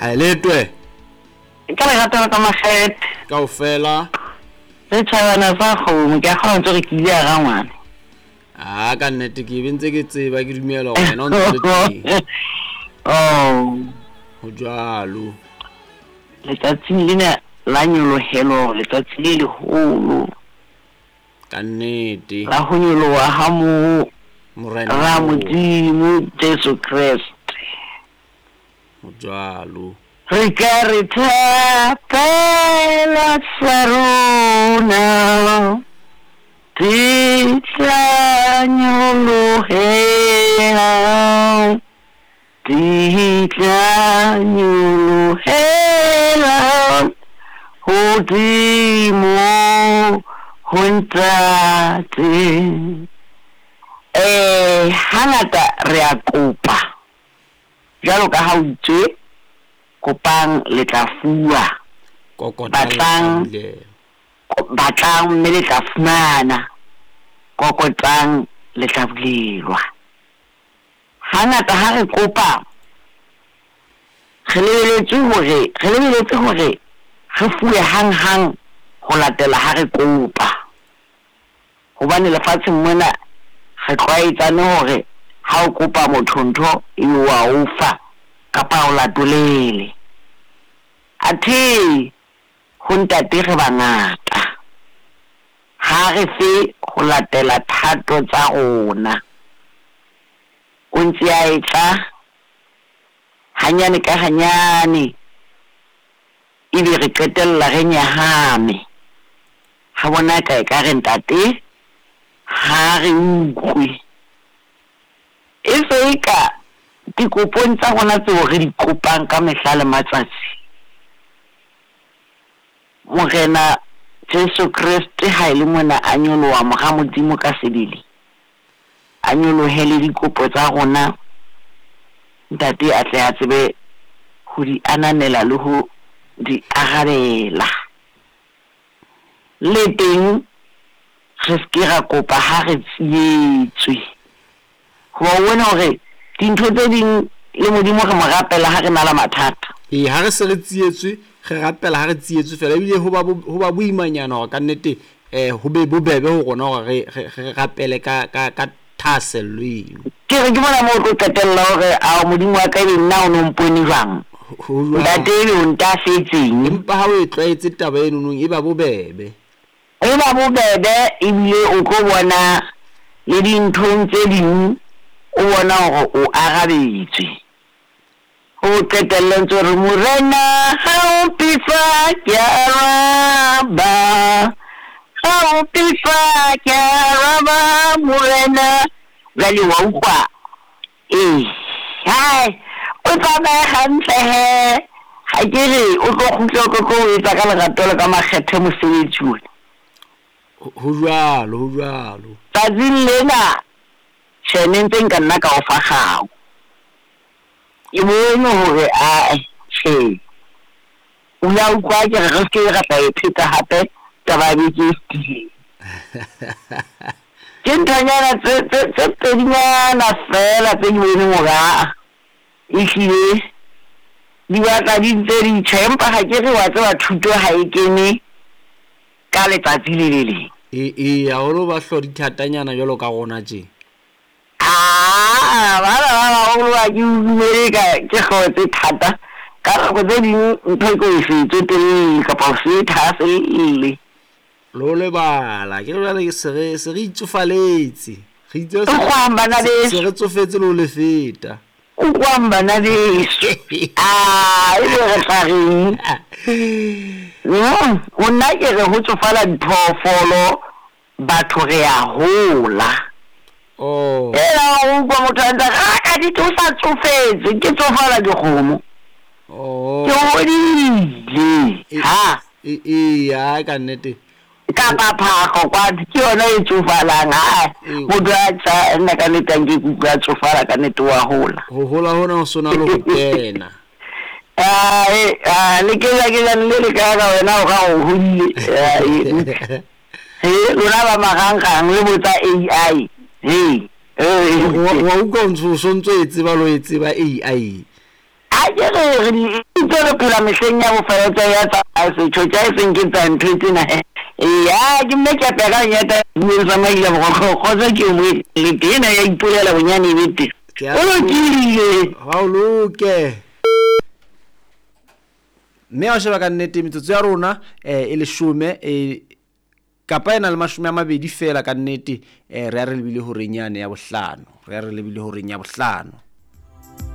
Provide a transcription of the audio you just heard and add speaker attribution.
Speaker 1: Haeletwe.
Speaker 2: Ka lerato la ka makgethe.
Speaker 1: Kaofela.
Speaker 2: Setjhabana sa kgomo, ke a kgona ntse re ke ile ya rangwane.
Speaker 1: A ka nnete ke be ntse ke tseba ke dumela hore wena o ntse le teng.
Speaker 2: Oh.
Speaker 1: Ho jwalo.
Speaker 2: Letsatsing lena la nyolohelo, letsatsi le leholo.
Speaker 1: Ka nnete.
Speaker 2: La ho nyoloha ha mo
Speaker 1: Morena
Speaker 2: ra Modimo Jesu Kreste.
Speaker 1: Ho jwalo.
Speaker 2: Re ka re thapela sa rona di tla nyolohela, di tla nyolohela hodimo ho Ntate. Eh, hangata re a kopa Bjalo ka ha o itše, Kopang, le tla fuwa.
Speaker 1: Kokotang, le tla
Speaker 2: Batlang,
Speaker 1: bulelwa.
Speaker 2: batlang mme le tla fumana. Kokotang, le tla bulelwa. Hangata ha re kopa, re lebeletswe hore, re lebeletse hore re fuwe hang-hang ho latela ha re kopa. Hobane lefatsheng mona re tlwaetsane hore ha o kopa motho ntho ebe o a o fa kapa a o latolele. Athe ho Ntate re bangata, ha a re fe ho latela thato tsa rona. O ntse a etla hanyane ka hanyane. Ebe re qetella re nyahame. Re bona eka ekare Ntate ha a re utlwe. E se eka dikopong tsa rona tseo re di kopang ka mehla le matsatsi, Morena Jesu Kreste ha e le mona a nyoloha Mora Modimo ka sebele, a nyolohe le dikopo tsa rona, Ntate a tle a tsebe ho di ananela le ho di arabela. Le teng re se ke ra kopa ha re tsietswe. Hoba o bone hore dintho tse ding le Modimo re mo rapela ha re na le mathata.
Speaker 1: Ee, ha re se re tsietswe, re rapela ha re tsietswe fela. Ebile ho ba ho ba boimanyana hore kannete um ho be bobebe ho rona hore re, re, re rapele ka, ka, ka thahasello eno.
Speaker 2: Ke re ke mona moo o tlo qetella o re, Ao, Modimo wa ka, ebe nna o no mpone jwang?
Speaker 1: Ho jwang?
Speaker 2: Ntate, ebe o ntahletseng?
Speaker 1: Empa ha o e tlwaetse taba enonong e ba bobebe.
Speaker 2: E ba bobebe ebile o tlo bona le dinthong tse ding o bona hore o arabetswe. O qetelle o ntse o re, Morena ha o mpefa ke a araba, ha o mpefa ke a araba Morena. Jwale wa utlwa? Ee, hai, o tsamaye hantle he. Ga ke re o tlo kgutla o tlo tlo o etsa ka lerato le ka makgethe mosebetsi ona.
Speaker 1: Ho jwalo, ho jwalo.
Speaker 2: Tsatsing lena, tjhe, ne ntse nka nna ka o fa kgau. Ke bone hore ae, tjhe. O ile a utlwa ke re re se ke ra tla e pheta hape taba ya beke e fetileng. Ke nthonyana tse tse tse pedinyana feela tse ke boneng hore aa ehlile di batla di ntse di tjha, empa ha ke re wa tseba thuto ha e kene ka letsatsi le le leng.
Speaker 1: Ee, ee, haholo ba hloho di thatanyana jwalo ka rona tje.
Speaker 2: Aa, bana ba baholo ha ke dumele ka ke hlooho tse thata. Ka nako tse ding ntho e ke o se e tsotelle kapa o se e thahaselle.
Speaker 1: Le ho lebala, ke re jwale se re se re itsofaletse. Re itse
Speaker 2: Utlwang bana
Speaker 1: se
Speaker 2: beso.
Speaker 1: re tsofetse le ho le feta.
Speaker 2: Utlwang bana beso. Aa, ebe re tla reng? Nna ke re ho tsofala diphoofolo, batho re a hola.
Speaker 1: Oh.
Speaker 2: Ela wa utlwa motho a ntse a re, "Ah, ka nnete o sa tsofetse, ke tsofala dikgomo."
Speaker 1: Oh.
Speaker 2: Ke hodile. Ha.
Speaker 1: Ee, ha ka nnete.
Speaker 2: Kapa phahlo kwano ke yona e tsofalang. Ha motho a tsa nna ka nnete a nke ke utlwa a tsofala ka nnete wa hola.
Speaker 1: Ho hola hona ho sona le ho kena.
Speaker 2: Ae, a le kejakejane le le ka ka wena o ka o hodile. Ae. He, lona ba marangrang le botsa AI. He.
Speaker 1: Wa utlwa o ntso o sontso e tseba le ho e tseba AI.
Speaker 2: Ha ke re re di itse re phela mehleng ya bofelo tsa ya tsa setjho tsa e seng ke tsa ntho tsena he. Eya ke mme ke apea ka lenyata bueng sa maila borokgo kgotso ke o mo le tena ya ipolela bonyane e be teng.
Speaker 1: Ke a
Speaker 2: O lokile.
Speaker 1: Ha o loke. Mme ha o sheba ka nnete metsotso ya rona e leshome e kapa e na le 20 feela ka nnete, re ya re lebile horeng yane ya bohlano, re ya re lebile horeng ya bohlano.